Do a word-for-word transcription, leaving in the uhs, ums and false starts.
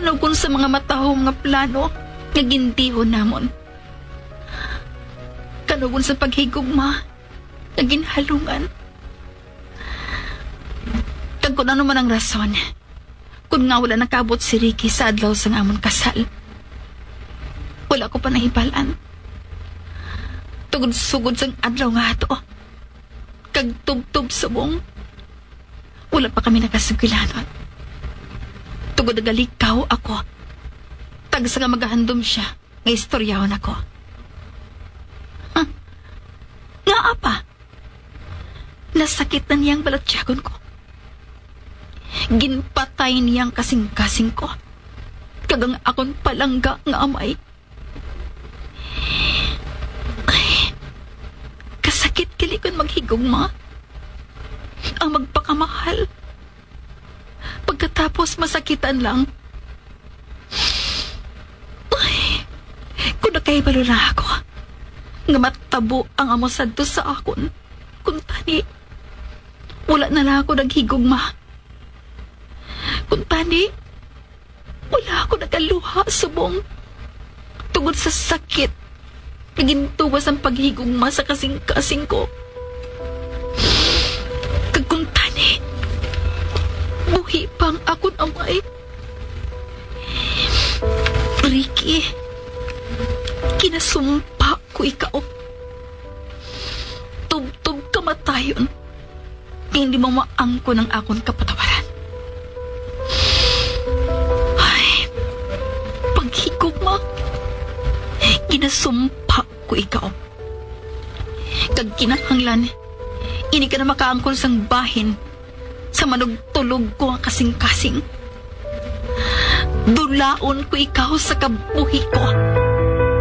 Kanugon sa mga matahom nga plano nga gintihon namon. Kanugon sa paghigugma nga ginhalungan. Kag kung ano man ang rason, kung nga wala nakaabot si Ricky sa adlaw sang amon kasal, wala ko pa nahibalan. Tungod sugod sang adlaw nga ato, kag tubtob subong, wala pa kami nakasugilanon. Tungod nagalikaw ako, tagsa nga magahandom siya nga istoryahon ako. Huh? Ngaa pa? Nasakit na niya ang balatyagon ko. Ginpatay niya ang kasing-kasing ko, kag ang akon palangga nga amay. Ay, kasakit gali kon maghigugma ang magpakamahal, pagkatapos masakitan lang. Ay, kung nakahibalo na ako nga matabo ang amo sadto sa akon, kung tani, wala na lang ako naghigugma. Kung tani, wala ako nagaluha subong tungod sa sakit nga gintuwas ang paghigugma sa kasing-kasing ko. Kag kung tani, buhi pa ang akon amay. Ricky, kinasumpa ko ikaw. Tubtob kamatayon, kay hindi mo maangkon ang akon kapatawaran. Ay, paghigugma, ginasumpa ko ikaw. Kag kinahanglan, hindi ka na makaangkon sang bahin sa manugtulog ko nga kasing-kasing. Dulaon ko ikaw sa kabuhi ko.